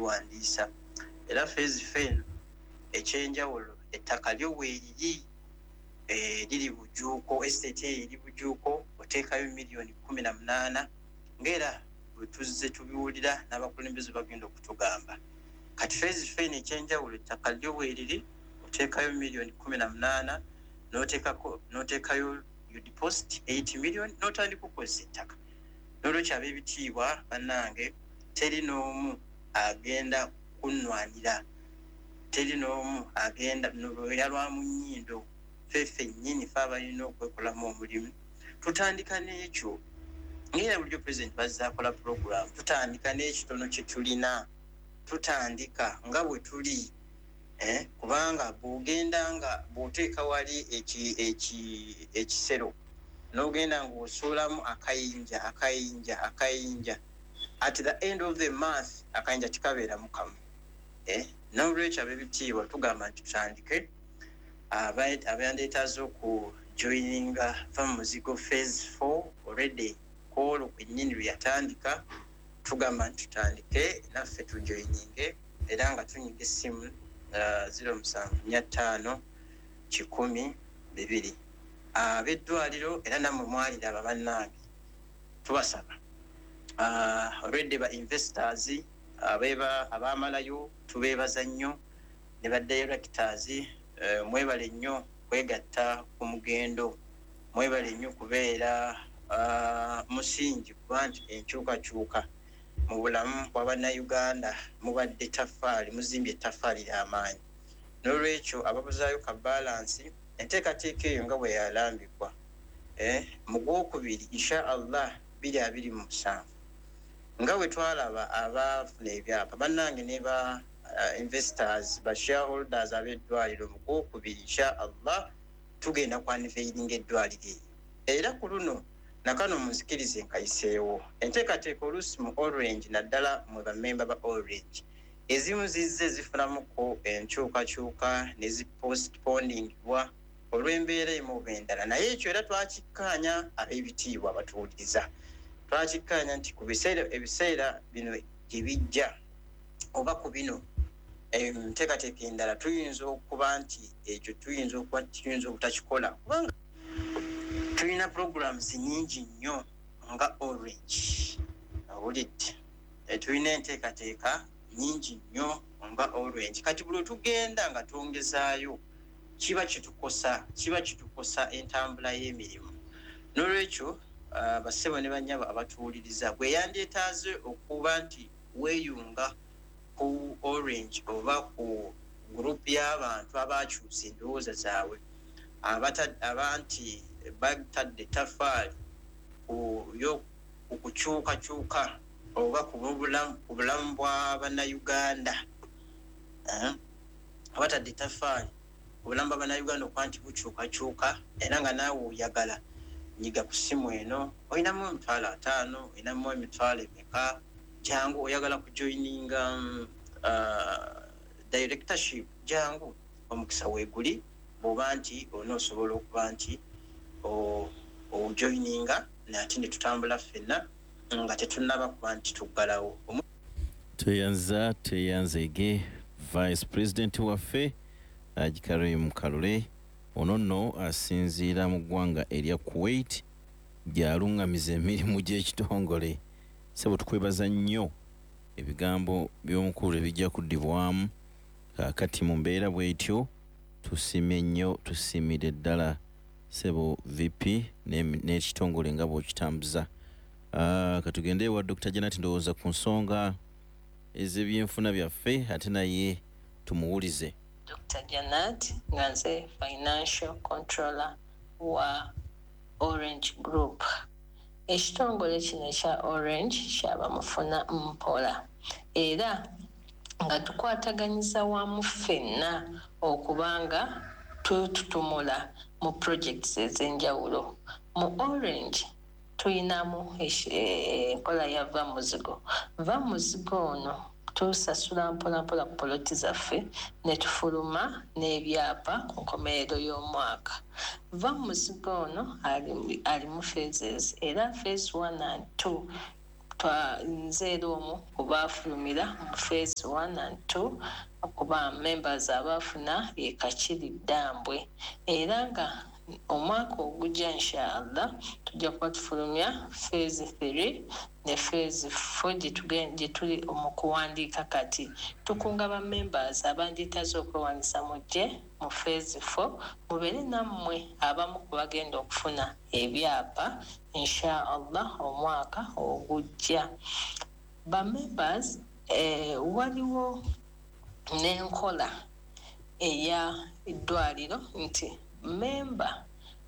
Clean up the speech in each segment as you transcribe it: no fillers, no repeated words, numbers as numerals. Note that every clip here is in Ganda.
Okwewandiisa. Era phase 4 eno ekyenjawulo, ettaka lyo weeriri, liri Bujuuko, estate eyo eri Bujuuko. Oteekayo miliyoni 18, ngaera bwe tuzze tubiwulira n'abakulembeze bagenda okutugamba. Kati phase 4 eno ekyenjawulo, ettaka lyo weeriri, oteekayo miliyoni 18, n'oteekako n'oteekayo, you deposit 8 million, n'otandika okukozesa ettaka. N'olwekyo, ab'ebitiibwa bannange, teri n'omu agenda kunnwanira, teri n'omu agenda lweya lwa mu nnyindo. Ffe ffennyini fe abalina okwekolamu omulimu. Tutandika n'ekyo, ngaera bulijjo Pulezidenti bazze akola puroguramu, tutandika n'ekitono kye tulina, tutandika nga bwe tuli, kubanga bw'ogenda nga bw'oteeka wali ekisero n'ogenda ng'osuulamu akayinja, akayinja, akayinja, at the end of the month akayinja tikabeeramu kamu, eh? N'olwekyo, ab'ebitiibwa, tugamba nti tutandike. Abayandeetaaze okujoininga Va mu Muzigo phase 4 already kwolwo kwennyini lwe yatandika, tugamba nti tutandike naffe tujoininge, era nga tunyiga essimu 0745 100 2. Ab'eddwaliro era nammwe mwaliraba bannange, tubasaba, already ba investors abamalayo tubeebaza nnyo, ne ba directors, mwebale nnyo kwegatta ku mugendo, mwebale nnyo kubeera musingi, kuba nti enkyukakyuka mu bulamu bwa Bannayuganda mubadde taffaali, muzimbye ettaffaali ly'amaanyi. N'olwekyo ababuzaayo ka balance, enteekateeka eyo nga bwe yalambikwa, mu gwokubiri, insha Allah, 2027, nga bwe twalaba abaafuna ebyapa bannange ne ba investors, ba shareholders ab'eddwaliro, mu gwokubiri, insha Allah, tugenda ku unveilinga eddwaliro eyo. Era ku luno nakano munzikirize nkayiseewo enteekateeka. Oluusi mu Orange, naddala mwe bamemba ba Orange, ezimu zizze zifunamuko enkyukakyuka ne zipostponingibwa olw'embeera emu oba endala, naye ekyo era twakikkaanya. Ab'ebitiibwa abatuwuliriza, twakikkaanya nti ku biseera, ebiseera bino gye bijja, oba ku bino enteekateeka endala, tuyinza okuba nti ekyo tuyinza okuba tuyinza obutakikola, kubanga tulina programs nyingi nnyo nga Orange. Owulidde? Tulina enteekateeka nyingi nnyo nga Orange. Kati buli wetugenda nga twongezaayo, kiba kitukosa entambula y'emirimu. N'olwekyo, bassebo ne bannyabo abatuwuliriza, bwe yandyetaaze okuba nti weeyunga ku Orange oba ku gurupu y'abantu abakyusa endowooza zaabwe, abanti batadde ettaffaali ku kukyukakyuka oba ku bulamu bwa Bannayuganda, abatadde ettaffaali ku bulamu bwa Bannayuganda okuba nti bukyukakyuka, era nga naawe oyagala, nyiga ku ssimu eno. Olinamu 500,000, olinamu emitwalo emeka, jangu. Oyagala kujoininga directorship, jangu, omukisa weeguli. Bw'oba nti onoosobola okuba nti ojoininga, nate ne tutambula ffenna nga tetunnaba kuba nti tuggalawo. Tweyanza, tweyanzeege Vice President waffe Haji Karim Kalule. Ono nno asinziira mu ggwanga erya Kuwait, gy'aluŋŋamiza emirimu gy'ekitongole. Sebo, tukwebaza nnyo. Ebigambo by'omukulu ebijja kuddibwamu kaakati mu mbeera bw'etyo. Tusiimye nnyo, tusiimire ddala sebo VP n'ekitongole nga bw'okitambuza. Katugende ewa Dr Janat, ndowooza ku nsonga ez'ebyenfuna byaffe, ate naye tumuwulize. Dr Janat, nga nze financial controller wa Orange Group. Ekitongole kino ekya Orange kyaba mufuna mpola, era nga tukwataganyiza wamu ffenna okubanga tututumula mu projects ez'enjawulo. Mu Orange tuyinamu enkola ya Va Muzigo. Va Muzigo ono tusasula mpolampola ku poloti zaffe ne tufuluma n'ebyapa ku nkomerero y'omwaka. Va Muzigo ono alimu phases, era phase 1 and 2. Nze era omu ku baafulumira mu phase 1 and 2, kuba members abaafuna ye Kakiri Ddambwe. Era nga omwaka ogujja, inshallah, tujja kuba tufulumya phase 3 ne phase 4 gye tuli mu kuwandiika kati. Tukunga ba members abandyetaaze okwewandiisa, mujje mu phase 4, mubeere nammwe abamu ku bagenda okufuna ebyapa, inshallah, omwaka ogujja. Ba members, waliwo n'enkola eya eddwaliro nti memba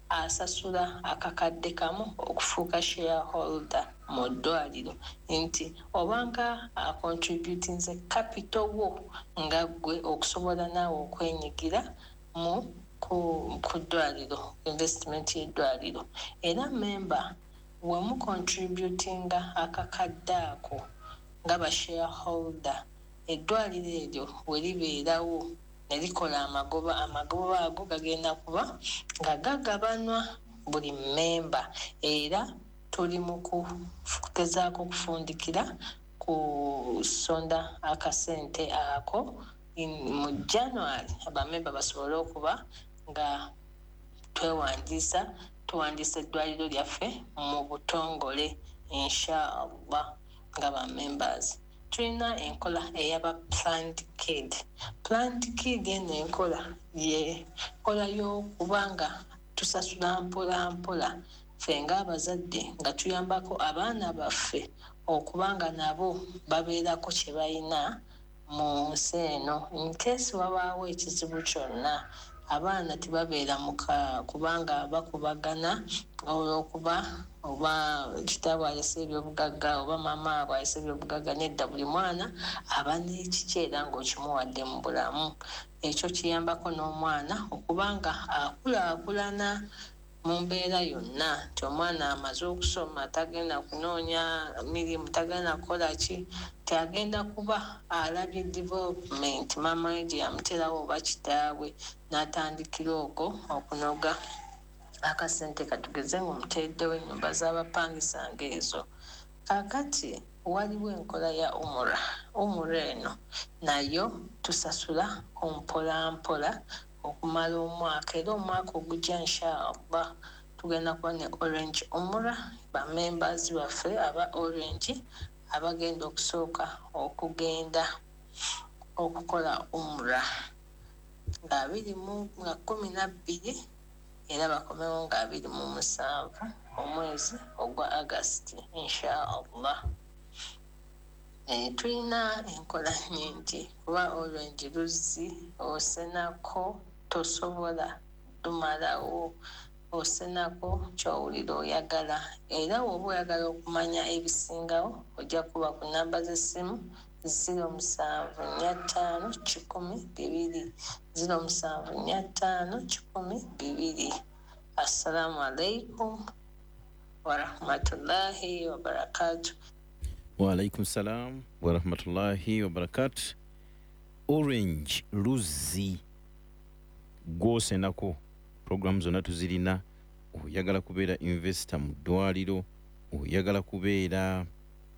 asasula akakadde kamu okufuuka shareholder mu ddwaliro, nti obanga acontributinze capital wo nga ggwe okusobola naawe okwenyigira mu ku ddwaliro, investment y'eddwaliro. Era memba wemucontributinga akakadde ako nga ba shareholder, eddwaliro eryo we libeerawo ne likola amagoba, amagoba ago gagenda kuba nga gagabanwa buli memba. Era tuli mu kugezaako okufundikira kusonda akasente ako mu January, abamemba basobole okuba nga twewandiisa, tuwandiisa eddwaliro lyaffe mu butongole, inshallah. Nga ba members, tulina enkola eyaba Planned Kid. Planned Kid eno enkola ye nkola y'okuba nga tusasula mpola mpola ffe ng'abazadde, nga tuyambako abaana baffe okuba nga nabo babeerako kye balina mu nsi eno, in case wabaawo ekizibu kyonna, abaana tebabeera muka kubanga bakubagana olw'okuba oba kitaabwe alese ebyobugagga oba maama abwe alese ebyobugagga. Nedda, buli mwana aba n'ekiki era ng'okimuwadde mu bulamu. Ekyo kiyambako n'omwana okuba nga akulaakulana mu mbeera yonna, nti omwana amaze okusoma tagenda kunoonya mirimu, tagenda kukola ki, nti agenda kuba alabye development maama we gye yamuteerawo oba kitaabwe, n'atandikira okwo okunoga akasente, katugeze ng'omuteereddewo ennyumba z'abapangisa ng'ezo. Kaakati waliwo enkola ya umura. Umura eno nayo tusasula mpola mpola okumala omwaka, era omwaka ogujja, inshallah, tugenda kuba ne Orange Umura, bamembers baffe aba Orange abagenda okusooka okugenda okukola umura nga abiri mu nga 12, era bakomewo nga 27 omwezi ogwa August, inshallah. Tulina enkola nnyingi, kuba Orange luzzi, osenako tosobola lumalawo, osenako kyowulira oyagala. Era woba oyagala okumanya ebisingawo, ojja kuba ku namba z'essimu 0745 100 2, 0745 100 2. Assalamu alaikum warahmatullahi wabarakatu. Waalaikum salam warahmatullahi wabarakatu. Orange luzzi gwosenako, programu zonna tuzirina. Oyagala kubeera investor mu ddwaliro, oyagala kubeera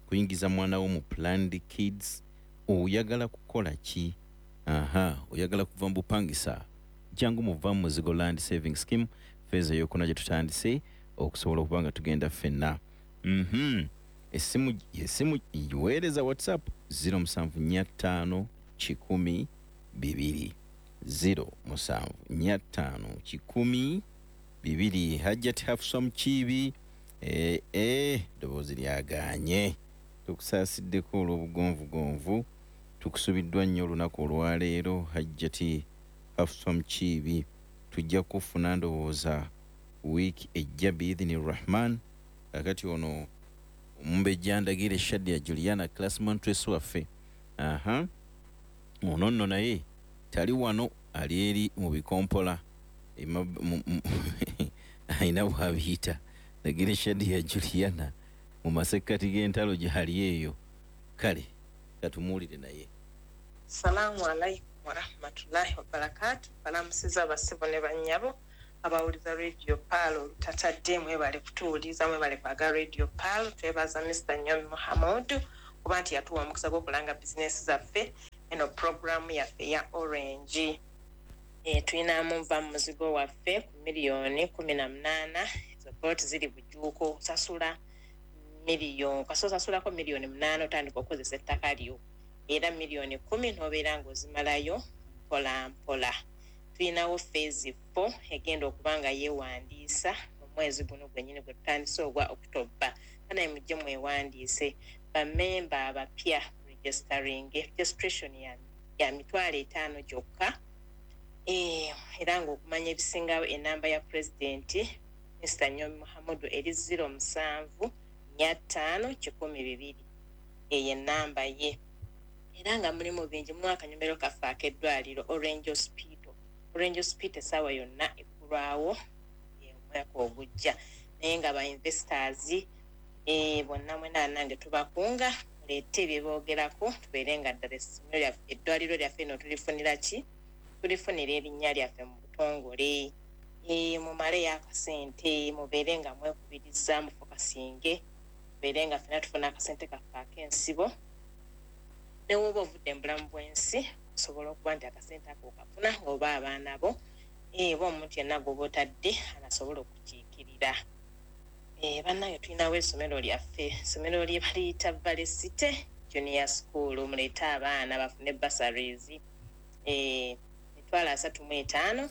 kuyingiza mwana wo mu Planned Kids, oyagala kukola ki, aha, oyagala kuva mu bupangisa, jangu muva mu Muzigo Land Saving Scheme phase eyokuna gye tutandise okusobola okuba nga tugenda ffenna. Esimu weereza WhatsApp 0745 100 2, 0745 100 2. Hajjati Hafsa Mukiibi, eddoboozi lyagaanye, tukusaasiddeko olw'obugonvugonvu, tukusubiddwa nnyo olunaku olwaleero. Hajjati Hafsa Mukiibi, tujja kufuna ndowooza wiiki ejja biidhini Rahman. Kakati ono omumbejja Ndagire Shadia Juliana, class monitress waffe, aha, ono nno naye tali wano, ali eri mu bikompola, alina bwabiyita. Ndagire Shadia Juliana mu masekkati g'entalo gyali eyo. Kale katumuwulire naye. Salaamu alaikum warahmatullahi wabarakatu. Balamusiza abasibo ne bannyabo. Abawuliza Radio Pearl olutatadde, mwebale kutuwuliza, mwebale kwaga Radio Pearl. Twebaza Mr Nyomi Muhammad kuba nti yatuwa omukisa gw'okulanga bizinesi zaffe eno programu yaffe ya Orange. Tulinamu nva mu muzigo waffe ku miliyoni 18. Ezo poloti ziri Bujuuko. Osasula miliyoni, kasita osasulako miliyoni 8 otandika okukozesa ettaka lyo, era miliyoni 10 n'obeera ng'ozimalayo mpola mpola. Tulinawo phase 4 egenda okuba nga yeewandiisa mu mwezi guno gwennyini gwe tutandise ogwa October. Banaye mujje mwewandiise. Bamemba abapya registering, registration ya 500,000 gyokka. Era ng'okumanya ebisingawo, enamba ya pulezidenti Mr Nyomi Muhammadu eri 0745 102. Eyo enamba ye. Era nga mulimu bingi, mulimu akanyomero kaffe ak'eddwaliro Orange Hospital. Orange Hospital essaawa yonna eggulwawo omwaka ogujja, naye nga ba investors bonna mwena nange tubakunga muleete bye boogerako, tubeere nga ddala essomero lyaffe, eddwaliro lyaffe eno tulifunira ki, tulifunira erinnya lyaffe mu butongole. Mumaleyo akasente, mubeere nga mwekubiriza, mufokasinge, tubeere nga ffena tufuna akasente kaffe ak'ensibo. Newoba ovudde mu bulamu bw'ensi, osobola okuba nti akasente ako okafuna oba abaana bo, oba omuntu yenna gwoba otadde anasobola okukiikirira. Bannange, tulinawo essomero lyaffe, essomero lye baliyita Valley City Junior School. Muleete abaana bafune bursaries, 350,000.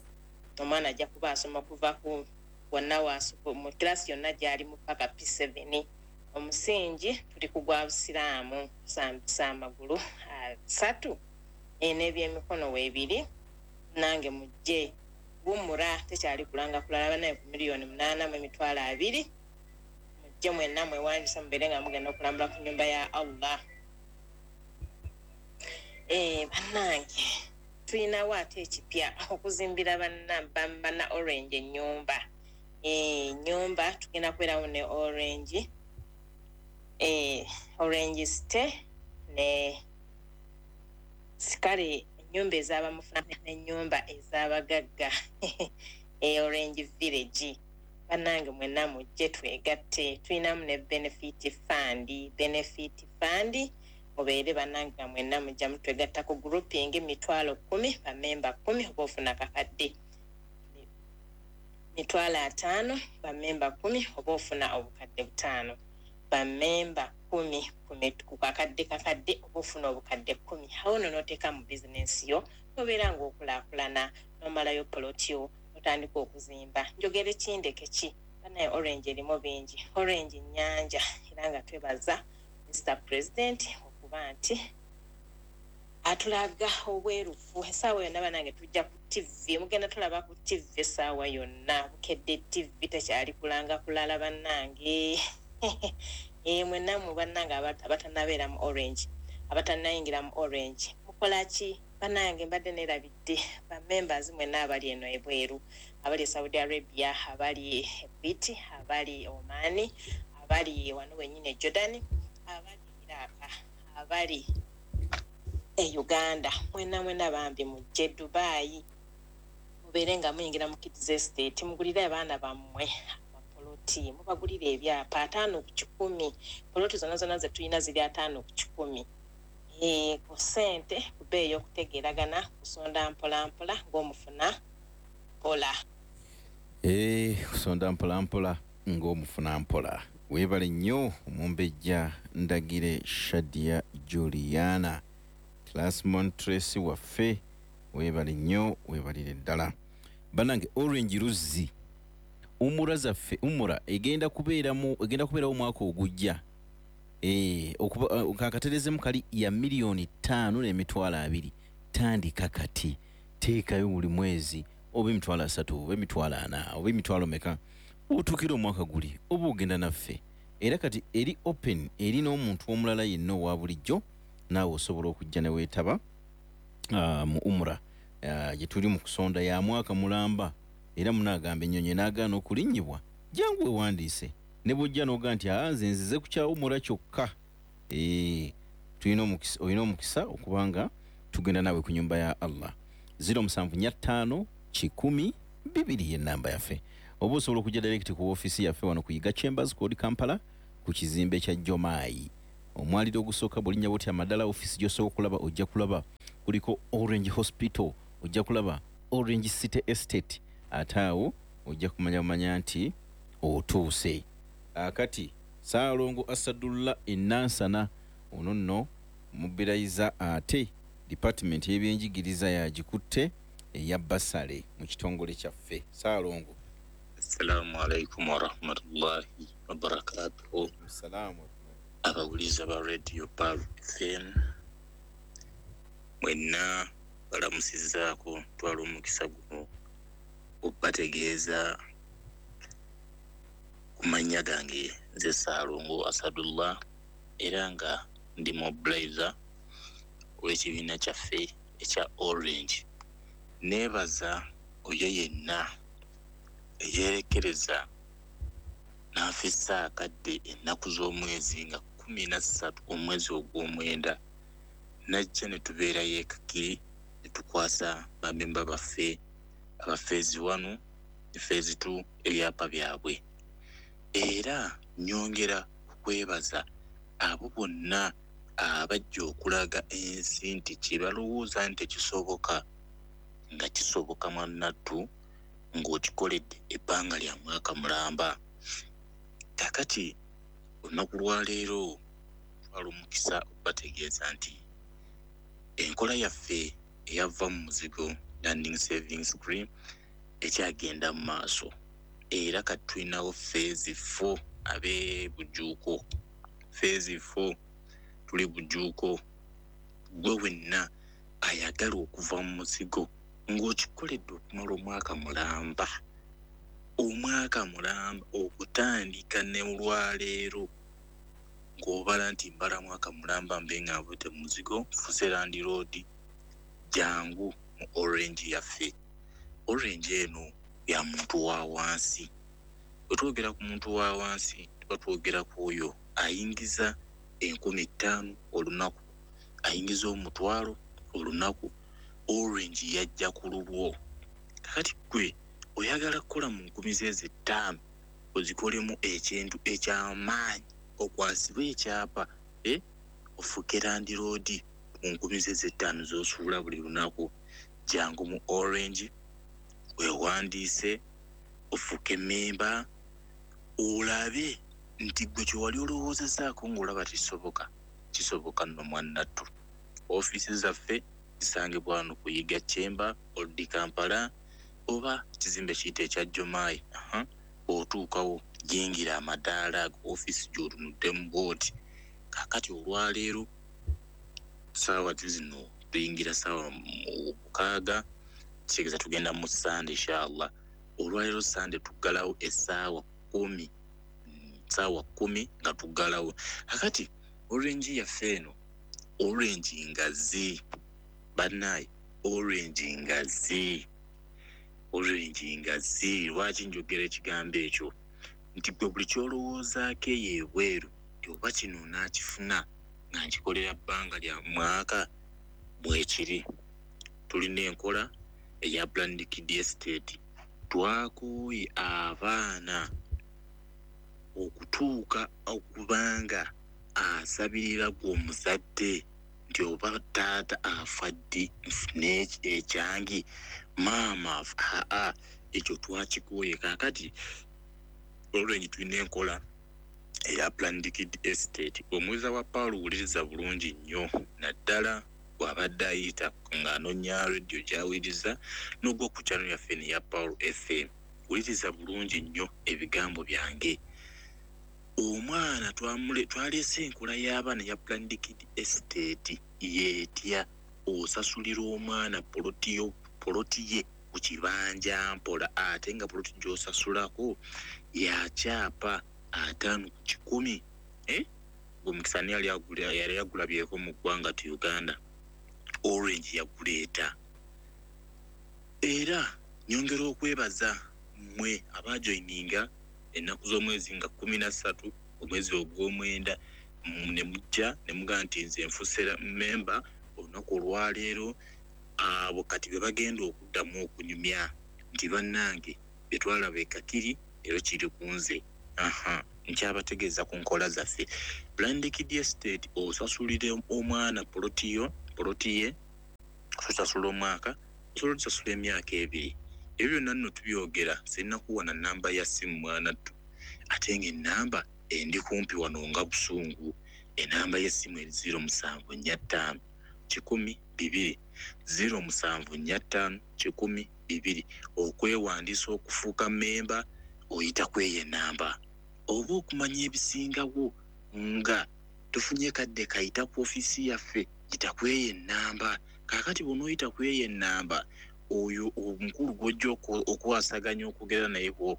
Omwana ajja kuba asoma kuva ku wonna mu kirasi yonna gy'alimu paka P7. Omusingi tuli ku gwa busiraamu, kusambisa amagulu asatu, n'ebyemikono weebiri. Nange mujje wumura, tekyali kulanga kulala banaye ku miliyoni 8 mu 20,000. Mujje mwenna mwewandisa, mubeere nga mugenda okulambula ku nyumba ya Allah. Bannange, tulinawo ate ekipya, okuzimbira banna Orange ennyumba. Ennyumba tugenda kubeerawo ne Orange, Orange City ne sikale, ennyumba ez'abamufuna n'ennyumba ez'abagagga, Orange Village. Bannange mwenna mujje twegatte. Tulinamu ne benefit fund. Benefit fund, mubeere bannange nga mwenna mujja mutwegatta ku grouping, 10,000, bamemba 10 oba ofuna kakadde, 50,000, bamemba 10 oba ofuna obukadde 5, bamemba 10 ku kakadde kakadde oba ofuna obukadde 10. Awo nno n'oteeka mu bizinensi yo, nobeera ng'okulaakulana, n'omalayo poloti yo, otandika okuzimba. Njogere kindeke ki? Banaye, Orange erimu bingi, Orange nnyanja. Era nga twebaza Mr President okuba nti atulaga obwerufu. Essaawa yonna banange tujja ku TV, mugenda tulaba ku TV essaawa yonna. Bukedde TV tekyali kulanga kulala. Bannange, mwenna mu bannange abatanabeera mu Orange, abatanayingira mu Orange, mukola ki? Bannange, mbadde nerabidde bamembers mwenna abali eno ebweru, abali e Saudi Arabia, abali e Kuwait, abali Omani, abali wano wenyini e Jordan, abali Iraq, abali e Uganda, mwena mwena bambi mujje Dubai, mubeere nga muyingira mu Kids Estate, mugulire abaana bammwe amapoloti, mubagulire ebyapa 50 ku 100. Poloti zonna zonna zetulina ziri 50 ku 100. Ku ssente ku bbeeyi okutegeeragana, kusonda mpola mpola ng'omufuna mpola. Kusonda mpola mpola ng'omufuna mpola. Weebale nnyo omumbejja Ndagire Shadia Juliana, class monitress waffe. Weebale nnyo, weebalire ddala. Bannange, Orange luzzi umura zaffe, umura egenda kubeeramu, egenda kubeerawo omwaka ogujja. Kakaterezemu kali ya miliyoni 5 n'emitwalo 20. Tandika kati, teekayo buli mwezi oba 30,000 oba 40,000 oba emitwalo meka, otuukira omwaka guli oba ogenda naffe. Era kati eri open eri n'omuntu omulala yenna owa bulijjo, naawe osobola okujja ne weetaba mu umura gye tuli mu kusonda ya mwaka mulamba. Era munaagamba ennyonyi n'agaana okulinnyibwa, jangu wewandiise. Ne bwojja n'ogaa nti aa, nze nzize ku kya umura kyokka, tulina omukisa, olina omukisa okubanga tugenda naawe ku nyumba ya Allah. 0745 100. 2 ye namba yaffe. Oba osobola okujja direct ku ofiisi yaffe wano ku Yiga Chambers, ku Old Kampala, ku kizimbe kya Jomaayi, omwaliro ogusooka. Bw'olinnya bwoti amadala, ofiisi gy'osooka okulaba, ojja kulaba kuliko Orange Hospital, ojja kulaba Orange City Estate, ate awo ojja kumanya bumanya nti otuuse. Akati Saalongo Asadullah Enansana ono nno mubirayiza, ate department y'ebyenjigiriza yagikutte eya basale mu kitongole kyaffe. Saalongo. Assalamu alaikum warahmatullahi wabarakatuhu. Salaamu. Abawuliza ba Radio Pearl FM mwenna balamusizaako. Twala omukisa guno okubategeeza ku mannya gange. Nze Saalongo Asadullah, era nga ndi mobilizer ow'ekibiina kyaffe ekya Orange. Neebaza oyo yenna eyeerekereza n'afissa akadde ennaku z'omwezi nga 13 omwezi ogw'omwenda, najja ne tubeerayo ekakiri ne tukwasa bamemba baffe aba phase 1 ne phase 2 ebyapa byabwe. Era nyongera okwebaza abo bonna abajja okulaga ensi nti kye balowooza nti tekisoboka nga kisoboka, mwannattu, ng'okikoledde ebbanga lya mwaka mulamba. Kakati olunaku lwaleero twala omukisa okubategeeza nti enkola yaffe eyava mu muzigo, Landing Saving Scheme, ekyagenda mu maaso, era kati tulinawo phase 4 ab'e Bujuuko. Phase 4 tuli Bujuuko. Gwe wenna ayagala okuva mu muzigo ng'okikoledde okumala omwaka mulamba, omwaka mulamba okutandika ne olwaleero, ng'obala nti mbala mwaka mulamba mbe nga nvudde mu muzigo, nfuse landlord, jangu mu Orange yaffe. Orange eno ya muntu wa wansi. Bwe twogera ku muntu wa wansi, tuba twogera ku oyo ayingiza 5000 olunaku, ayingiza 100,000 olunaku. Orange yajja ku lulwo. Kakati gwe oyagala kukola mu nkumi zeezo 5 ozikolemu ekintu ekyamaanyi, okwasibwe ekyapa, ofuuke landlord mu nkumi zeezo 5 z'osuula buli lunaku, jangu mu Orange weewandiise ofuuke memba, olabe nti gwe kye wali olowoozezaako ng'olaba tekisoboka, kisoboka nno, mwannattu. Ofiisi zaffe zisangibwa wano ku Yiga Chamber, Old Kampala, oba kizimbe kiyite ekya Jomaayi. Bw'otuukawo yingira amadaala ago, ofiisi gy'otunuddemu bw'oti. Kaakati olwaleero saawa zino tuyingira saawa 6, kitegeeza tugenda mu Sande inshallah. Olwaleero Sande tuggalawo essaawa 10, saawa 10 nga tuggalawo. Kakati Orange yaffe eno, Orange ngazi, bannaaye, Orange ngazi, Orange ngazi. Lwaki njogera ekigambo ekyo? Nti gwe buli kyolowoozaako eyo ebweru nti oba kino naakifuna nga nkikolera bbanga lya mwaka, bwekiri. Tulina enkola eya Planned Kid Estate. Twakooye abaana okutuuka okubanga asabirira gwe omuzadde nti oba taata afa ddi nfune ekyange, maama aa. Ekyo twakikooye. Kaakati olwenyi tulina enkola eya Planned Kid Estate. Omuwiza wa Paulo, wuliriza bulungi nnyo, naddala bw'abadde ayita ng'anoonya rediyo gy'awuliriza n'ogwa ku channel yaffe neya Paul FM, wuliriza bulungi nnyo ebigambo byange. Omwana twaleese enkola y'abaana ya Planned Kid Estate. Yeetya osasulira omwana poloti ye ku kibanja mpola, ate nga poloti gy'osasulako yakyapa 50%. Omukisa ani yali agulabyeko mu ggwanga ti Uganda? Orange yaguleeta. Era nyongera okwebaza mmwe abajoyininga ennaku z'omwezi nga 13 omwezi ogw'omwenda, ne mujja ne mugamba nti nze nfuse memba olunaku olwaleero. Abo kati be bagenda okuddamu okunyumya. Nti bannange bye twalaba e Kakiri ero kiri ku nze. Aha, nkyabategeeza ku nkola zaffe. Blind Kid Estate, osasulire omwana poloti yo, poloti ye osasula omwaka, osobola otusasula emyaka 2. Ebyo byonna nno tubyogera, sirina kuwa na namba ya ssimu mwana ttu, ate ng'ennamba endi kumpi wano nga busungu. Enamba y'essimu eri 0745 100 2, 0745 100 2. Okwewandiisa okufuuka memba oyita ku eyo enamba, oba okumanya ebisingawo nga tufunye kadde kayita ku ofiisi yaffe, yita ku eyo enamba. Kaakati bw'onooyita ku eyo enamba, oyo omukulu gw'ojja okwasaganya okwogera naye ku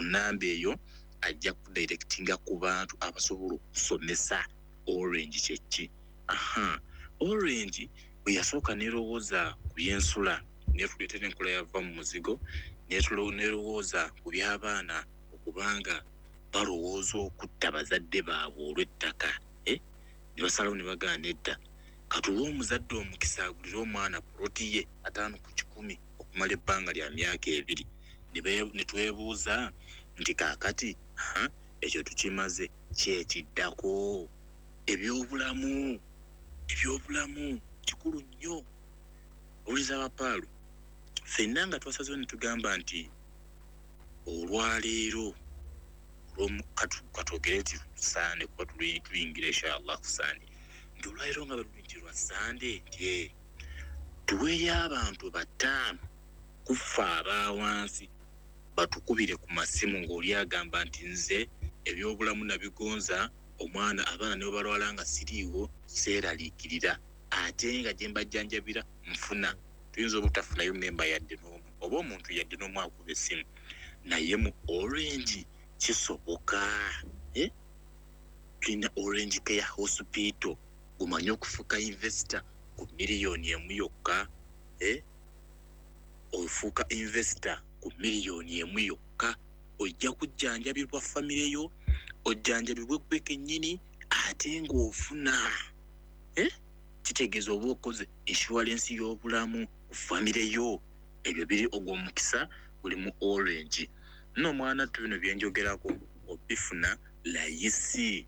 namba eyo ajja kudirectinga ku bantu abasobola okusomesa Orange kyeki. Aha, Orange bwe yasooka nerowooza ku byensula, netuleetera enkola yava mu muzigo, nerowooza ku by'abaana okubanga balowooza okutta bazadde baabwe olw'ettaka, ne basalawo ne bagaana edda, katuwe omuzadde omukisa agulire omwana poloti ye 50% okumala ebbanga lya myaka 2. Ne twebuuza nti kaakati ekyo tukimaze, kyekiddako ebyobulamu. Ebyobulamu kikulu nnyo. Owuliza abapaalu ffenna nga twasazeewo ne tugamba nti olwaleero katwogere nti Sande, kuba tuyingira inshallah ku Sande, nti olwaleero nga bwe nti lwa Sande, nti tuweeyo abantu 5 kufa abawansi batukubire ku masimu ng'oli agamba nti nze ebyobulamu nabigonza, omwana abaana ne balwala nga siriiwo seeraliikirira, ate nga gye mbajjanjabira nfuna. Tuyinza obutafunayo memba yadde n'omu oba omuntu yadde n'omu akuba essimu, naye mu Orange kisoboka. Tulina Orange Care Hospital. Gumanye okufuuka investor ku miliyoni 1 yokka, ofuuka investor ku miliyoni 1 yokka, ojja kujjanjabibwa famire yo, ojjanjabibwe gwe kennyini, ate ng'ofuna, kitegeeza oba okoze insurance y'obulamu ku famire yo. Ebyo biri, ogwo omukisa guli mu Orange. Nno omwana ttu, bino byenjogerako obifuna layisi,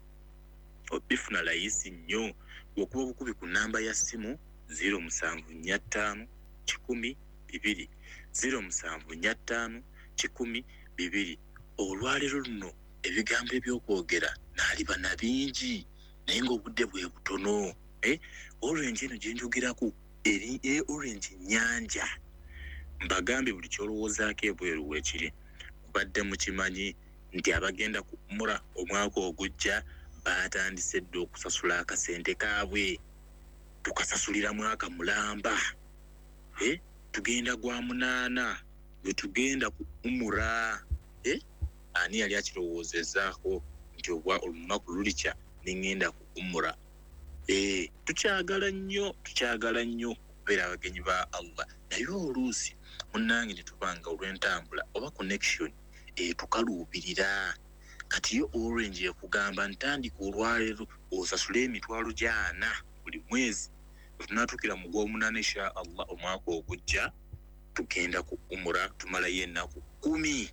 obifuna layisi nnyo okuba obukubi ku namba ya ssimu 0745 100 2, 0745 100 2. Olwaleero luno ebigambo ebyokwogera naaliba na bingi, naye ng'obudde bwe butono. Orange eno gyenjogerako eri orange nyanja. Mbagambye buli kyolowoozaako ebweru weekiri. Kubadde mukimanyi nti abagenda ku umura omwaka ogujja batandise dda okusasula akasente kaabwe? Tukasasulira mwaka mulamba, tugenda gwa 8 bwe tugenda ku umura. Ani yali akirowoozezaako nti obwa olunaku lulikya neŋŋenda ku umura? Tukyagala nnyo, tukyagala nnyo okubeera abagenyi ba Allah, naye oluusi munnange ne tubanga olw'entambula oba connection etukaluubirira. Kati yo Orange ekugamba ntandika olwaleero osasule emitwalo 40 buli mwezi, wetunaatuukira mu gw'omunaana insha Allah omwaka ogujja tugenda ku umura, tumalayo ennaku 10.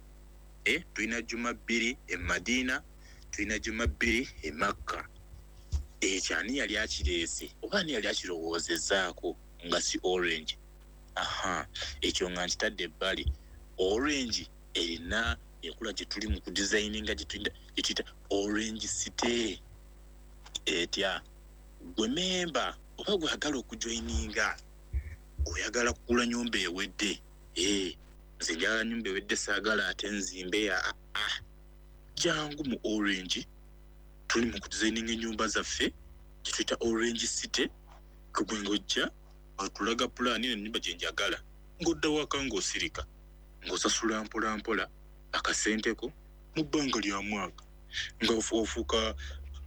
Tulina juma 2 e Madiina, tulina juma 2 e Makka. Ekyo ani yali akireese oba ani yali akirowoozezaako nga si Orange? Aha, ekyo nga nkitadde ebbali. Orange erina enkola gye tuli mu kudesigninga gye tuyita Orange City. Etya? Gwe memba oba gwagala okujoininga, oyagala kugula nyumba ewedde, nze njagala nyumba ewedde, saagala ate nzimbe ya jangu mu Orange. Tuli mu kudesigninga ennyumba zaffe gye tuyita Orange City. Kugwe ng'ojja otulaga pulaani ennyumba gye njagala, ng'odda waka ng'osirika, ng'osasula mpola mpola akasenteko mu bbanga lya mwaka, nga ofuuka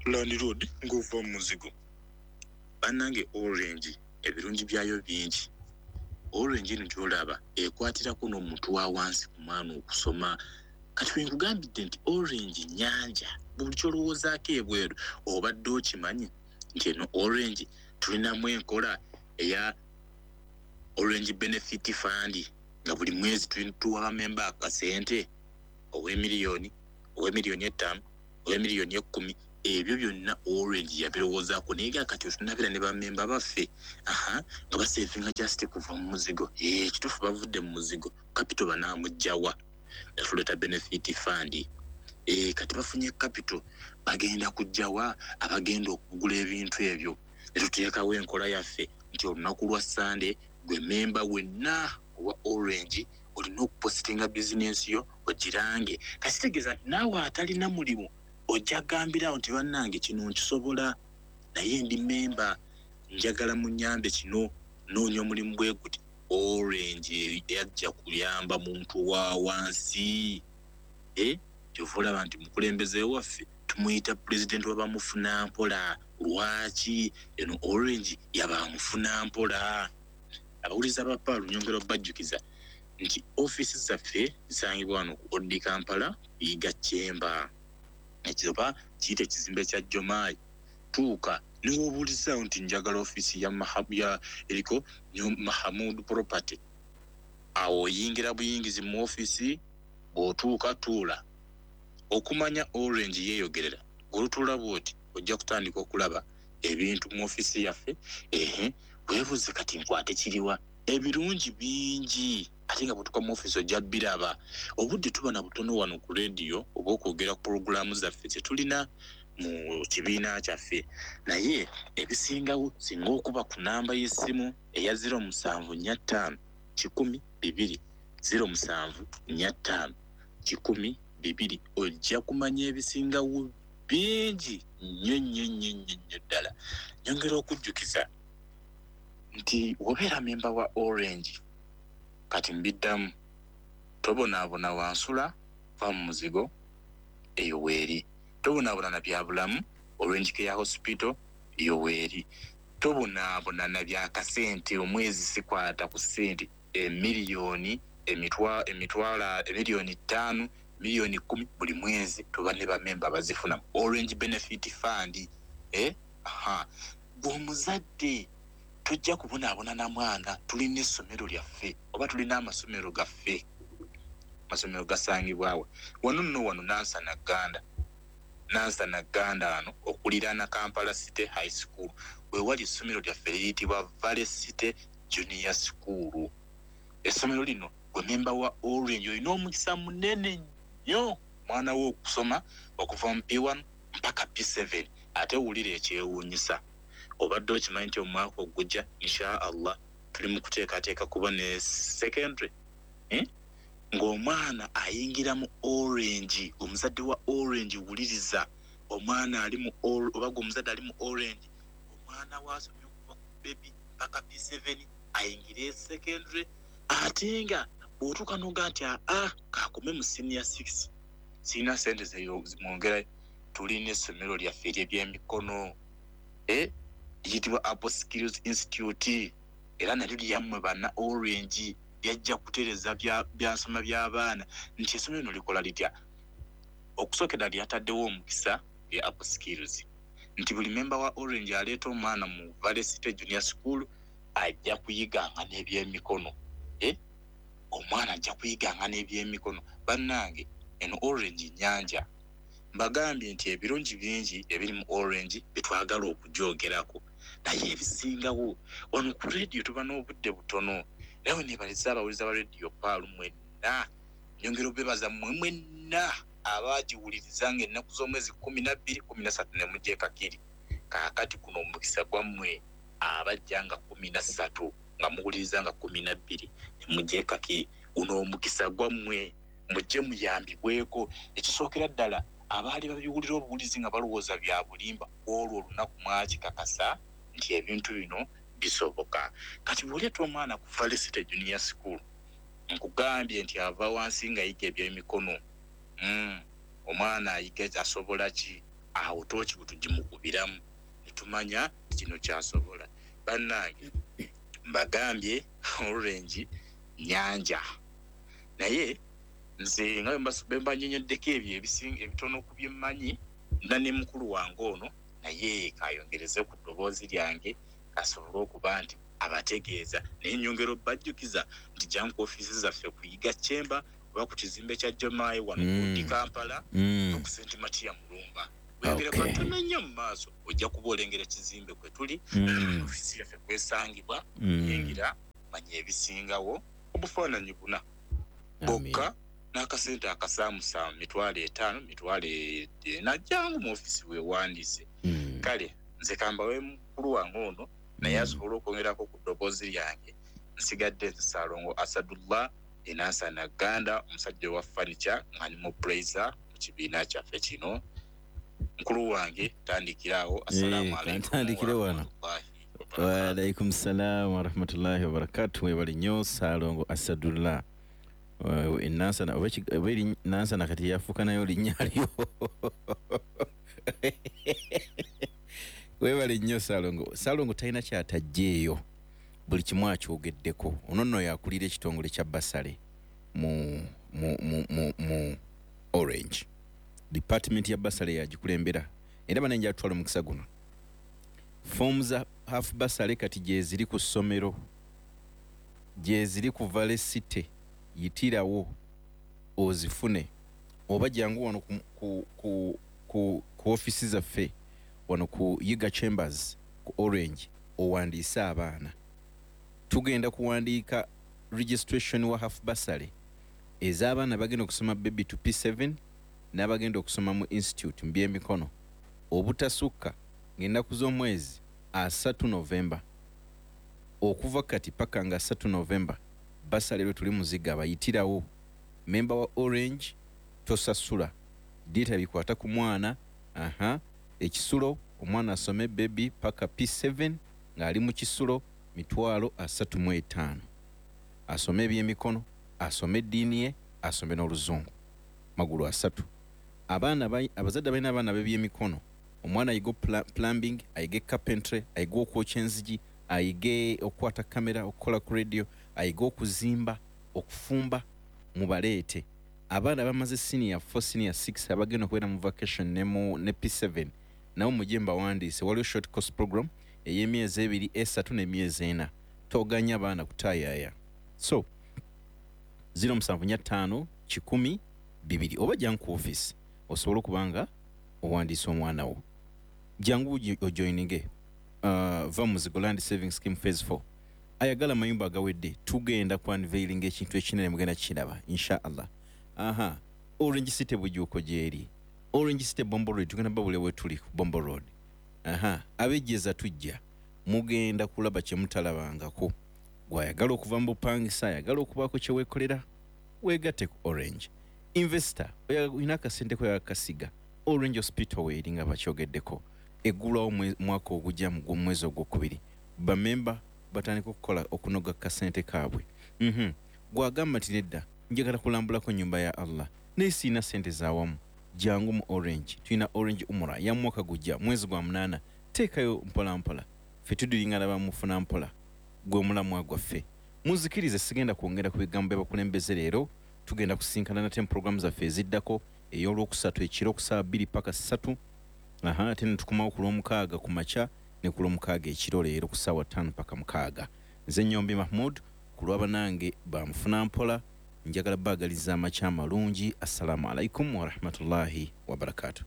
landlord ng'ova mu muzigo. Bannange, Orange ebirungi byayo bingi. Orange eno gy'olaba ekwatirako n'omuntu wa wansi ku mwana okusoma. Kati we nkugambidde nti Orange nyanja, buli kyolowoozaako ebweru. Obadde okimanyi nti eno Orange tulinamu enkola eya Orange Benefit Fund? Nga buli mwezi tuwa bamemba akasente, ow'emiliyoni, ow'emiliyoni 5, ow'emiliyoni 10, ebyo byonna Orange yabirowoozaako. Naye nga kati otunabira ne bamemba baffe, nga basevinga just kuva mu muzigo. Kituufu bavudde mu muzigo, capital banaamugjawa, yatuleeta benefit fund. Kati bafunye capital, bagenda kujjawa abagenda okugula ebintu ebyo. Ne tuteekawo enkola yaffe nti olunaku lwa Sande gwe memba wenna owa Orange olina okupositinga bizinensi yo ogirange. Kakitegeeza nti naawe atalina mulimu ojja kugambirawo nti bannange kino nkisobola, naye ndi memba, njagala munnyambe kino, noonya omulimu bwe guti. Orange yajja kuyamba muntu wa wansi. Kyova olaba nti mukulembeze waffe tumuyita pulezidenti w'abamufuna mpola. Lwaki eno Orange yabamufuna mpola? Abawuliza ba Paalu nyongera obbajjukiza nti ofiisi zaffe zisangibwa wano ku Odi Kampala, Yiga Chamber, ekizoba kiyite ekizimbe kya Jomai. Tuuka niwobuulizaawo nti njagala ofiisi ya eriko Mahamud Property, awo oyingira buyingizi mu ofiisi. Bw'otuuka tuula okumanya Orange yeeyogerera. Olutuula bw'oti ojja kutandika okulaba ebintu mu ofiisi yaffe. Weebuuze kati nkwate kiriwa? Ebirungi bingi, ate nga bw'otuuka mu ofiisi ojja biraba. Obudde tuba na butono wano ku rediyo oba okwogera ku pulogulaamu zaffe ze tulina mu kibiina kyaffe, naye ebisingawo singa okuba ku namba y'essimu eya 0745 100 2, 0745 100 2, ojja kumanya ebisingawo bingi nnyo nnyo nnyo nnyo nnyo ddala. Nyongera okujjukiza nti wobeera memba wa Orange, kati mbiddamu, tobonaabona wansula, va mu muzigo, eyo weeri. Tobonaabona na bya bulamu, Orange Care Hospital eyo weeri. Tobonaabona na bya kasente, omwezi sikwata ku ssente emiliyoni, emitwalo emiliyoni 5, miliyoni 10 buli mwezi tuba ne bamemba bazifuna Orange Benefit Fund. Bw'omuzadde tojja kubonaabona na mwana, tulina essomero lyaffe oba tulina amasomero gaffe. Amasomero gasangibwawa wano nno, wano Nansana Ganda, Nansana Ganda wano okuliraana Kampala City High School wewali essomero lyaffe liyitibwa Valley City Junior School. Essomero lino gwe memba wa Orange olina omukisa munene nnyo mwana wo okusoma okuva mu P1 mpaka P7. Ate wulira ekyewuunyisa, obadde okimanyi nti omwaka ogujja insha Allah tuli mu kuteekateeka kuba ne secondary, ng'omwana ayingira mu Orange. Omuzadde wa Orange wuliriza, omwana ali mu oba gwe omuzadde ali mu Orange, omwana wasomye okuva ku baby mpaka P7 ayingire secondary, ate nga bw'otuuka n'oga nti kakome mu senior 6, sirina ssente zimwongera, tulina essomero lyaffe ery'ebyemikono liyitibwa Apple Skills Institute, era nalyo lyammwe banna Orange, lyajja kutereeza byansoma by'abaana. Nti essomero lino likola litya? Okusookera lyataddewo omukisa lya Apple Skills nti buli memba wa Orange aleeta omwana mu Valley City Junior School ajja kuyiganga n'ebyemikono. Omwana ajja kuyiganga n'ebyemikono. Bannange eno Orange nnyanja. Mbagambye nti ebirungi bingi ebiri mu Orange byetwagala okugyogerako, naye ebisingawo wano ku rediyo tuba n'obudde butono. Naye neebaliza abawuliza ba rediyo Paalu mwenna, nyongera obebaza mmwe mwenna abaagiwuliriza ng'ennaku z'omwezi 12, 13 ne mujja e Kakiri. Kaakati guno omukisa gwammwe abajja nga 13 nga muwuliriza nga 12 ne mujja e Kakiri, guno omukisa gwammwe mujje muyambibweko. Ekisookera ddala abaali babiwulira obuwulizi nga balowooza bya bulimba, olwo olunaku mwakikakasa nti ebintu bino bisoboka. Kati bw'oleeta omwana ku Valley City Junior School, nkugambye nti ava wansi ng'ayiga ebyemikono. Omwana ayiga asobola ki? Awo tooki bwe tugimukubiramu ne tumanya kino kyasobola. Bannange mbagambye Orange nnyanja, naye nze nga bwe mba nnyonnyoddeko ebyo ebitono ku bye mmanyi, nna ne mukulu wange ono naye kayongereze ku ddoboozi lyange asobole okuba nti Abategeeza naye nyongera obbajjukiza nti jangu ku ofiisi zaffe ku Yiga Chamber oba ku kizimbe kya Jomayi wano ku Kampala ku St. Matia Mulumba. Weyongere katono nnyo mu maaso, ojja kuba olengera ekizimbe kwe tuli, ofiisi yaffe kwesangibwa. Yingira manya ebisingawo, obufaananyi buna bokka n'akasente akasaamusaamu 500,000, 400,000. Jangu mu ofiisi weewandiise. Kale nze kambawe mukulu wange ono naye asobola okwongerako ku ddoboozi lyange. Nsigadde nze Ssalongo Asadullah Enansana Ganda, omusajja wa furniture nga ndi mu blazer mu kibiina kyaffe kino. Mukulu wange tandikirawo. Assalamu alaikum. Tandikire wano. Wa alaikum salam wa rahmatullahi wa barakatuh. Webale nnyo Ssalongo Asadullah Enansana, oba eri Nansana kati yafuuka nayo linnya lyo. Webale nnyo Ssalongo. Ssalongo talina kyataggyeeyo, buli kimu akyogeddeko. Ono nno yakulira ekitongole kya bursary mu, mu, mu, mu, mu Orange. Department ya bursary yagikulembera era bana nja tutwala omukisa guno. Forms za half bursary kati gye ziri ku ssomero, gye ziri ku Valley City, yitirawo ozifune, oba jangu wano ku, ku, ku, ku, ku ofisi zaffe wano ku Yiga Chambers ku Orange owandiise abaana. Tugenda kuwandiika registration wa half bursary ez'abaana bagenda okusoma baby to P7 n'abagenda okusoma mu institute mu by'emikono, obutasukka ng'ennaku z'omwezi 3 Novemba. Okuva kati paka nga 3 Novemba bursary lwe tuli muziga bayitirawo. Memba wa Orange tosasula, data bikwata ku mwana. Aha, ekisulo omwana asome baby paka P7 ng'ali mu kisulo 35,000, asome ebyemikono, asome eddiini ye, asome n'oluzungu, magulu asatu. Abaana abazadde balina abaana b'ebyemikono, omwana ayige plumbing, ayige carpentry, ayige okwokya enzigi, ayige okukwata kamera, okukola ku radio, ayige okuzimba, okufumba, mubaleete. Abaana bamaze senior 4, senior 6 abagenda okubeera mu vacation ne mu ne P7 nabo mujje mbawandiise. Waliwo short course program ey'emyezi 2, 3 n'emyezi 4. Toganya abaana kutaayaaya. So 0745 100 2 oba jangu ku office osobola okuba nga owandiisa omwana wo. Jangu ojoininge va Muzigo Land Saving Scheme Phase 4. Ayagala amayumba agawedde, tugenda ku unveiling ekintu ekinene, mugenda kukiraba inshallah. Aha, Orange City Bujuuko gyeri, Orange City Bombo Road, tugenda babule we tuli ku Bombo Road. Aha, abejjeza tujja, mugenda kulaba kye mutalabangako. Gwayagala okuva mu bupangisa, ayagala okubaako kye weekolera, weegatte ku Orange. Investor, olina akasente ko yakasiga, Orange Hospital weeri nga bakyogeddeko, eggulwawo mwaka ogujja mu mwezi ogwokubiri. Bamemba batandika okukola okunoga kasente kaabwe. Gwagamba nti nedda, njagala kulambulako nnyumba ya Allah naye siina sente zawamu, jangu mu Orange. Tulina Orange Umura ya mwaka gujja mwezi gwa 8, teekayo mpola mpola, ffe tudiringana bamufuna mpola, gwe mulamwa gwaffe. Muzikirize, sigenda kwongera ku bigambo by'abakulembeze leero. Tugenda kusinkana nate mu programu zaffe eziddako, ey'olwokusatu ekiro ku ssaawa 2 paka 3. Aha, ate ne tukomawo ku lwomukaaga ku makya ne ku lwomukaaga ekiro leero ku ssaawa 5 paka 6. Nze Nyombi Mahmud ku lw'abanange bamufuna mpola, njagala baagaliza amakya amalungi. Assalamu alaikum warahmatullahi wabarakatuh.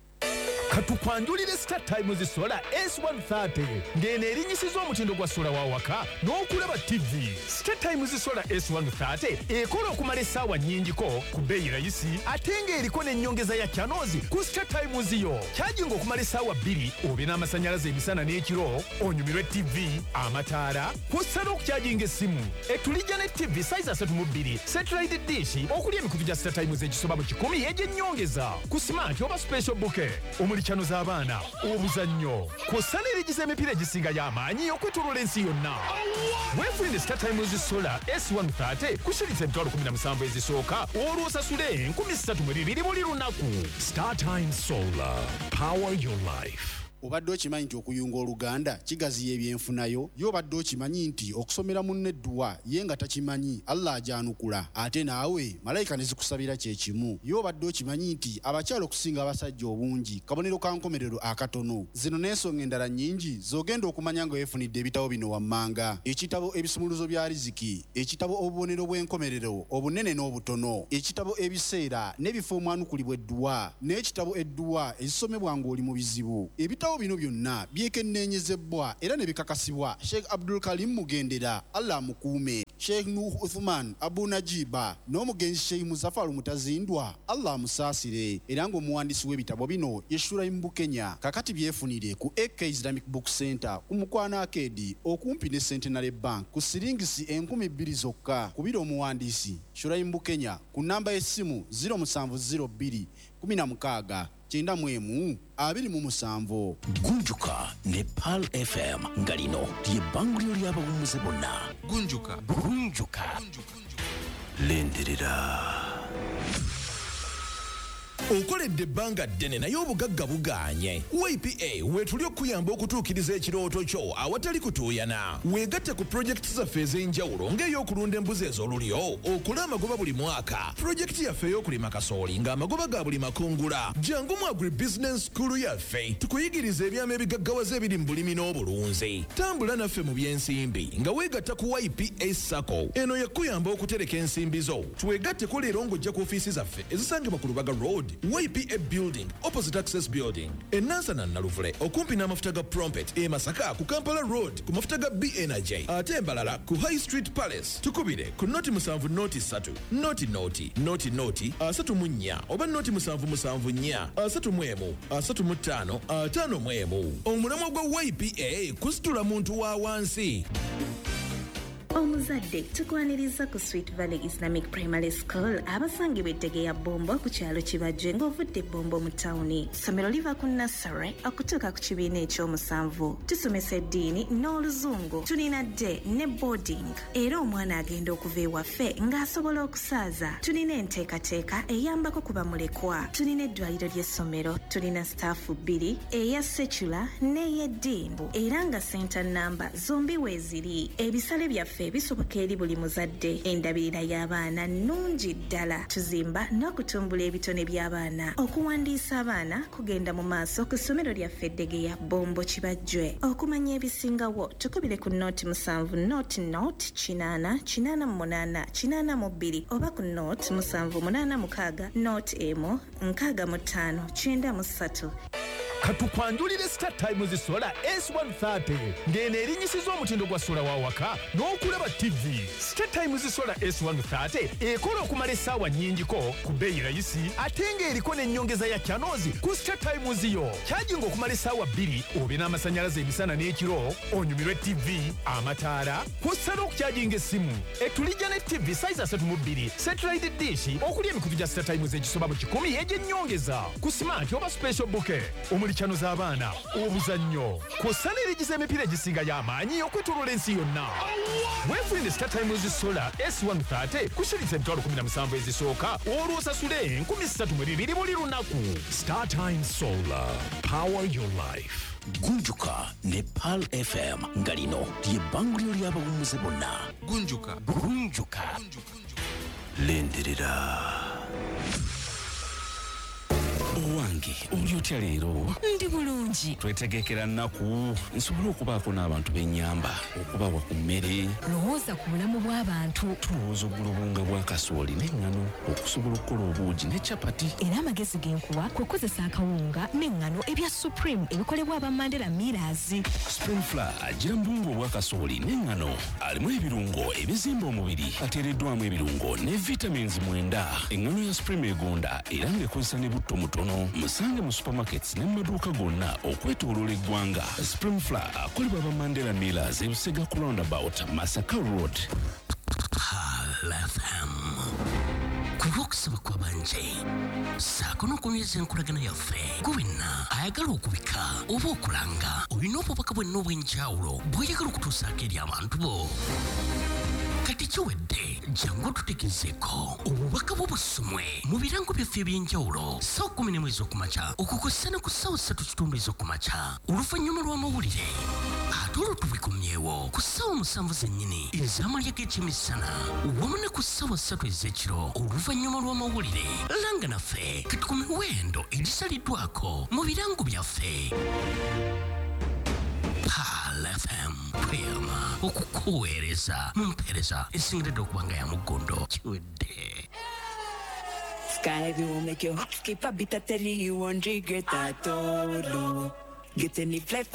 Katukwanjulire Star Times Solar S130 ng'eno erinyisiza omutindo gwa sola wa waka n'okulaba TV. Star Times Solar S130 ekola okumala essaawa nnyingiko ku bbeeyi rayisi, ate ng'eriko n'ennyongeza ya channels ku Star Times yo. Kyajinga okumala essaawa 2 obe n'amasannyalaze emisana n'ekiro, onyumirwe TV, amataala, kw'ossa n'okukyajinga essimu. Etulijja ne TV size 32, satellite dish okuli emikutu gya Star Times egisoba mu 100 egy'ennyongeza ku smart oba special bouquet omuli channel z'abaana, obuzannyo, kw'ossa n'erigiza emipiira egisingayo amaanyi okwetooloola ensi yonna. Weefunire Star Times Solar S130 ku shilingi 17,000 ezisooka, olwo osasule 3,200 buli lunaku. Star Times Solar. Power your life. Obadde okimanyi nti okuyunga oluganda kigaziya ebyenfunayo? Ye obadde okimanyi nti okusomera munno edduwa ye nga takimanyi, Allah agyanukula ate naawe malayika ne zikusabira kye kimu? Ye obadde okimanyi nti abakyala okusinga abasajja obungi kabonero ka nkomerero akatono? Zino n'ensonga endala nnyingi z'ogenda okumanya nga weefunidde ebitabo bino wammanga. Ekitabo Ebisumuluzo bya Riziki, ekitabo Obubonero bw'enkomerero obunene n'obutono, ekitabo Ebiseera n'ebifo omwanukulibwa edduwa n'ekitabo Edduwa ezisomebwa ng'oli mu bizibu. Ebitabo bino byonna byekenneenyezebbwa era ne bikakasibwa Sheikh Abdul Karim Mugendera, Allah amukuume, Sheikh Nuuh Uthuman Abu Najiba n'omugenzi Sheikh Muzafaru Mutazindwa, Allah amusaasire, era ng'omuwandiisi w'ebitabo bino ye Shuraim Bukenya. Kakati byefunire ku AK Islamic Book Centre ku Mukwano Arcade okumpi ne Centenary Bank ku siringisi 2000 zokka. Kubira omuwandiisi Shuraim Bukenya ku nnamba y'essimu 0702 16 91 27. Gunjuka ne Pearl FM nga lino ly'ebbanguliro ly'abawummuze bonna. Gunjuka. Gunjuka. Lindirira. Okoledde ebbanga ddene naye obugagga bugaanye. YPA weetuli okukuyamba okutuukiriza ekirooto kyo awatali kutuuyana. Weegatte ku pulojekiti zaffe ez'enjawulo ng'ey'okulunda embuzi ez'olulyo okole amagoba buli mwaka, pulojekiti yaffe ey'okulima kasooli ng'amagoba ga buli makungula. Jangu mu agribusiness school yaffe tukuyigiriza ebyama ebigaggawaza ebiri mu bulimi n'obulunzi. Tambula naffe mu by'ensimbi nga weegatta ku YPA SACCO. Eno yakuyamba okutereka ensimbi zo. Twegatteko leero ng'ojja ku ofiisi zaffe ezisangibwa ku Lubaga Road, YPA Building, opposite Access Building, e Nansana Naluvule okumpi n'amafuta ga Prompet, e Masaka ku Kampala Road ku mafuta ga B Energy, ate Mbarara ku High Street Palace. Tukubire ku 0 7 0 3 0 0 0 0 34 oba 0 7 7 4 31 35 51. Omulamwa gwa YPA kusitula muntu wa wansi. Omuzadde, tukwaniriza ku Sweet Valley Islamic Primary School abasangibwa ettege ya Bombo ku kyalo Kibajje ng'ovudde Bombo mu tawuni. Ssomero liva ku nursery okutuuka ku kibiina ekyomusanvu. Tusomesa eddiini n'Oluzungu. Tulina day ne boarding, era omwana agenda okuva ewaffe ng'asobola okusaaza. Tulina enteekateeka eyambako ku bamulekwa. Tulina eddwaliro ly'essomero. Tulina staff bbiri, eya secular n'ey'eddiini, era nga center namba zombi weeziri. Ebisale byaffe bisoboka eri buli muzadde. Endabirira y'abaana nnungi ddala. Tuzimba n'okutumbula ebitone by'abaana. Okuwandiisa abaana kugenda mu maaso ku ssomero lyaffe Eddegeya, Bombo, Kibajjwe. Okumanya ebisingawo tukubire ku 07 00 8 88 82 oba ku 0786 01 65 93. Katukwanjulire Star Times Solar S130 ng'eno erinyisiza omutindo gwa sola wa waka n'okulaba TV. Star Times Solar S130 ekola okumala essaawa nnyingiko ku bbeeyi rayisi, ate ng'eriko n'ennyongeza ya channels ku Star Times yo. Kyajinga okumala essaawa 2 obe n'amasannyalaze emisana n'ekiro, onyumirwe TV, amataala, kw'ossa n'okukyajinga essimu. Etulijja ne TV size 32, satellite dish okuli emikutu gya Star Times egisoba mu 100 egy'ennyongeza ku smart oba special bouquet omuli channel z'abaana, obuzannyo, kw'ossa n'erigiza emipiira egisinga y'amaanyi okwetooloola ensi yonna. Weefunire Star Times Solar S130 ku shilingi 17,000 ezisooka, olwo osasule 3,200 buli lunaku. Star Times Solar. Power your life. Gunjuka ne Pearl FM nga lino ly'ebbanguliro ly'abawummuze bonna. Gunjuka. Gunjuka. Lindirira. Owange, oli otya leero? Ndi bulungi. Twetegekera nnaku nsobole okubaako n'abantu b'ennyamba okubawa ku mmere. Lowooza ku bulamu bw'abantu. Tulowooza ogula obuwunga bwa kasooli n'eŋŋano okusobola okukola obuugi ne capati. Era amagezi ge nkuwa kwe kukozesa akawunga n'eŋŋano ebya Supreme ebikolebwa aba Mandela Millers. Supreme Flour agira mu buwunga obwa kasooli n'eŋŋano, alimu ebirungo ebizimba omubiri, ateereddwamu ebirungo ne vitamins 9. Eŋŋano ya Supreme egonda era ng'ekozesa ne butto mutono. Musange mu supermarkets ne mu maduuka gonna okwetooloola eggwanga. Supreme Flour akolebwa aba Mandela Millers, Ebusega ku roundabout, Masaka Road. Pearl FM. Ku lw'okusaba kw'abangi ssaako n'okunyweza enkolagana yaffe, gwe wenna ayagala okubika oba okulanga, olina obubaka bwenna obw'enjawulo bw'oyagala okutuusaako eri abantu bo. Kati Kati kiwedde, jangu tutegezeeko obubaka bw'obusumwe mu birango byaffe eby'enjawulo ssaawa 11 ez'okumakya okukosa ne ku ssaawa 3:15 ez'okumakya oluvannyuma lw'amawulire, ate olwo tubikomyewo ku ssaawa 7 zennyini ez'amalya g'ekyemisana wamu ne ku ssaawa 3 ez'ekiro oluvannyuma lw'amawulire. Langa naffe kati ku miwendo egisaliddwako mu birango byaffe. Pearl FM tweyama okukuweereza mu mpeereza esingiridde okuba nga ya muggondo. Kiwedde. Sky will make your heart skip a beat. I tell you you won't regret at all. Get any flight.